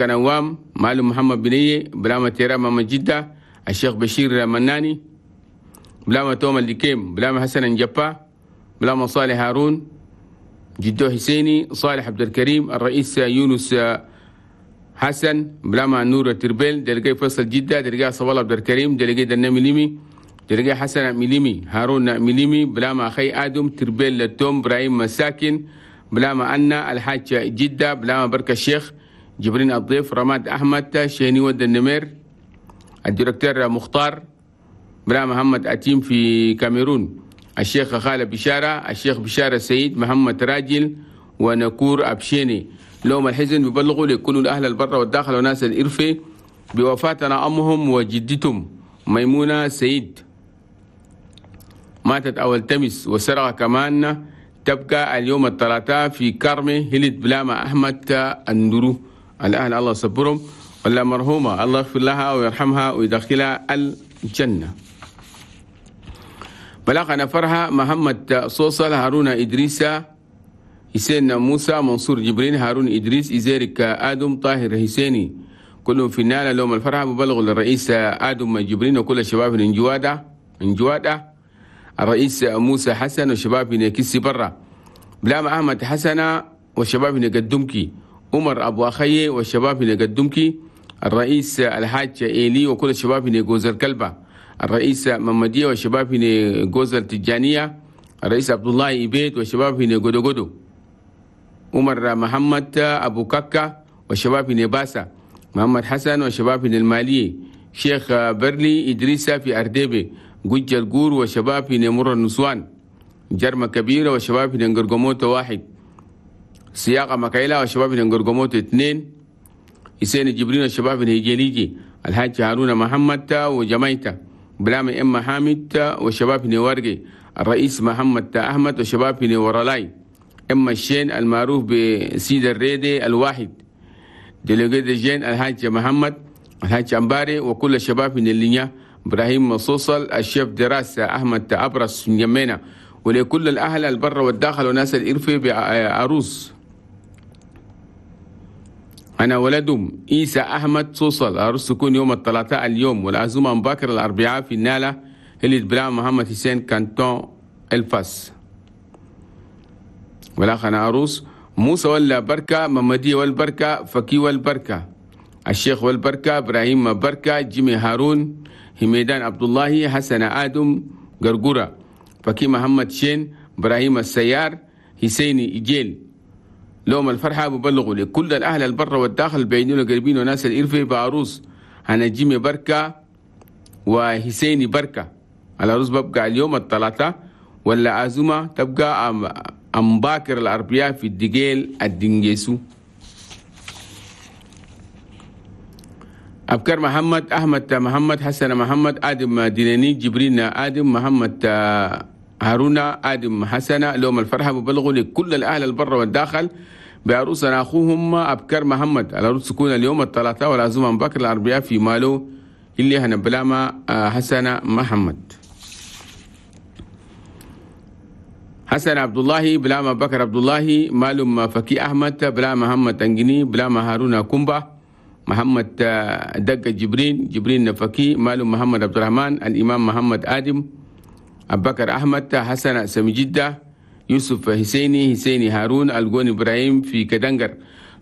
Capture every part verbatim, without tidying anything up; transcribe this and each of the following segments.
كنوام معلم محمد بنية بلاما تيرا ماما جدة الشيخ بشير مناني بلاما توما الليكيم بلاما حسن نجبا بلاما صالح هارون جدو حسيني صالح عبد الكريم الرئيس يونس حسن بلاما نور تربيل دلقي فيصل جدة دلقي صوال عبد الكريم دلقي دنا مليمي دلقي حسن مليمي هارون مليمي بلاما أخي آدم تربيل للتوم إبراهيم مساكن بلاما أنا الحاج جدة بلاما بركة الشيخ جبرين الضيف رماد أحمد شيني ود النمير الدكتور مختار بلا محمد أتيم في كاميرون الشيخ خالد بشارة الشيخ بشارة سيد محمد راجل ونكور أبشيني. لهم الحزن بيبلغوا لكل الأهل البر والداخل وناس الإرفي بوفاتنا أمهم وجدتهم ميمونة سيد ماتت أول تمس وسرقة كمان تبقى اليوم الثلاثاء في كرمه هلت بلاما أحمد الندرو. الأهل الله صبرهم ولا مرحومة الله يغفر لها ويرحمها ويدخلها الجنة. بلاغنا فرحة محمد صوصل هارون إدريسة حسين موسى منصور جبرين هارون إدريس إزيرك آدم طاهر حسيني كلهم في النالة. لهم الفرحة ببلغوا للرئيس آدم جبرين وكل الشباب من جوادة من جوادة الرئيس موسى حسن وشباب من كيسي برا بلام أحمد حسنة والشباب من قدمكي عمر أبو أخي والشباب من قدمكي الرئيس الحاج إيلي وكل الشباب من جوز الكلبة الرئيس ممدية والشباب من جوز التجانية الرئيس عبد الله إبيت والشباب من جودو جودو عمر محمد أبو كاكا والشباب من باسا محمد حسن والشباب من المالية شيخ برلي إدريسة في أرديبي جوج الجور وشباب من مر النسوان جرمة كبيرة وشباب من قرقموت واحد سياقة مكايلة وشباب من قرقموت اثنين حسين جبرين وشباب من هجليجي الحاج هارون محمد وجمايته بلام إما حامد وشباب من ورقي الرئيس محمد أحمد وشباب من ورلاي إما الشين المعروف بسيد الريدي الواحد ديليجي الجين الحاج محمد الحاج أمباري وكل الشباب من اللينيا إبراهيم مصوصل الشيف دراسة أحمد أبرس من يمينة ولكل الأهل البر والداخل وناس الإرفي بعروس. أنا ولدهم إيسى أحمد صوصل عروس تكون يوم الثلاثاء اليوم والعزومة مبكر الأربعاء في النالة اللي بلا محمد حسين كانتون الفاس. والآخر عروس موسى ولا بركة ممدية والبركة فكي والبركة الشيخ والبركة إبراهيم بركة جيمي هارون هميدان عبد الله حسن آدم قرقرة فكي محمد شين إبراهيم السيار حسيني إجيل. لهم الفرحة ببلغوا لكل الأهل البر والداخل البعيدين والقريبين وناس الإرفي بعروس أنا جيمي بركة وحسيني بركة. العروس ببقى اليوم الثلاثاء ولا عزومة تبقى أم باكر الأربعاء في الدقيل الدنجيسو. أبكر محمد أحمد محمد حسن محمد آدم ديناني جبرين آدم محمد هارون آدم حسن. لهم الفرحة ببلغوا لكل الأهل البر والداخل بعروسنا أخوهم أبكر محمد. العروس تكون اليوم الثلاثاء والعزومة من بكر الأربعاء في مالو اللي هنبلاما حسن محمد. حسن عبد الله بلاما بكر عبد الله مالum فكي أحمد بلا محمد أنجني بلا هارون كومبا محمد دق جبرين جبرين فكي مالum محمد عبد الرحمن الإمام محمد آدم أبو بكر أحمد حسن سمي جدة يوسف حسيني حسيني هارون الجون إبراهيم في كدنجر.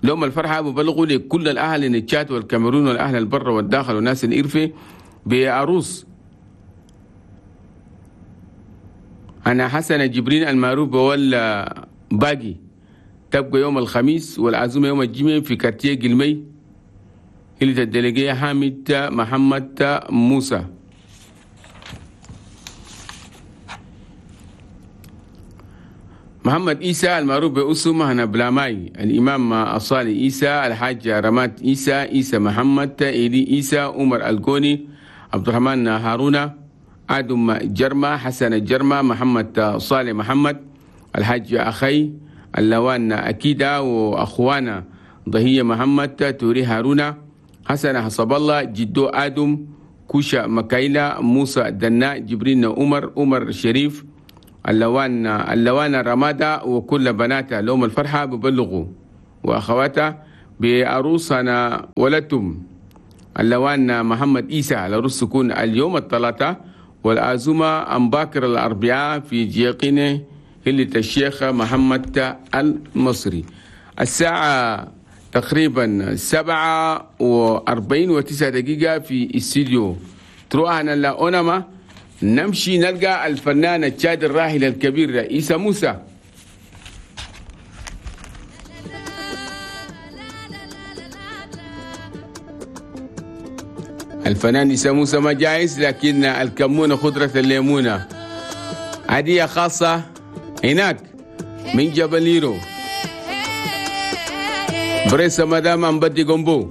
لهم الفرحة ببلغوا لكل الأهل التشاد والكاميرون والأهل البر والداخل والناس الإرفي بعروس أنا حسن جبرين المعروف بول باقي تبقى يوم الخميس والعزومة يوم الجمعة في كارتيه قلمي اللي الدلقية حامد محمد موسى. محمد إيسى المعروف بأسمه هنا بلاماي الإمام الصالح إيسى الحاج رمات إيسى إيسى محمد إيلي إيسى عمر الجوني عبد الرحمن هارون آدم جرمة حسن جرمة محمد صالح محمد الحاج أخي اللوان أكيدا وأخوانا ضهية محمد توري هارون حسن حسب الله جدو آدم كوشا مكايلا موسى دنا جبرين عمر عمر شريف اللوان اللوان رمادة وكل بناتها لهم الفرحة ببلغوا وأخواتها بعروسنا ولدتم اللوان محمد إيسى. العروس تكون اليوم الثلاثاء والعزومة أم باكر الأربعاء في جيقينة هلة الشيخ محمد المصري. الساعة تقريبا سبعة وأربعين وتسعة دقيقة في استديو تروحنا لأونما نمشي نلقى الفنان التشاد الراحل الكبير عيسى موسى. الفنان عيسى موسى ما جايز، لكن الكمونة خضرة الليمونة هدية خاصة هناك من جبل ليرو بريسة مدام أمبدي قنبو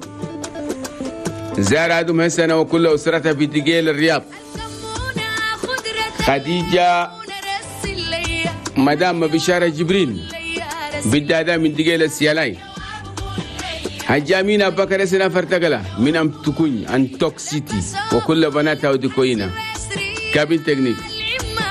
زار آدم هسنة وكل أسرتها في تقيل الرياض. خديجة مدام بشارة جبريل بالدادا من تقيل السيالاي. هجامينا بكر سنة فرتقلة من أم تكون أن توك سيتي وكل بناتها ودكوينا كابين تكنيك.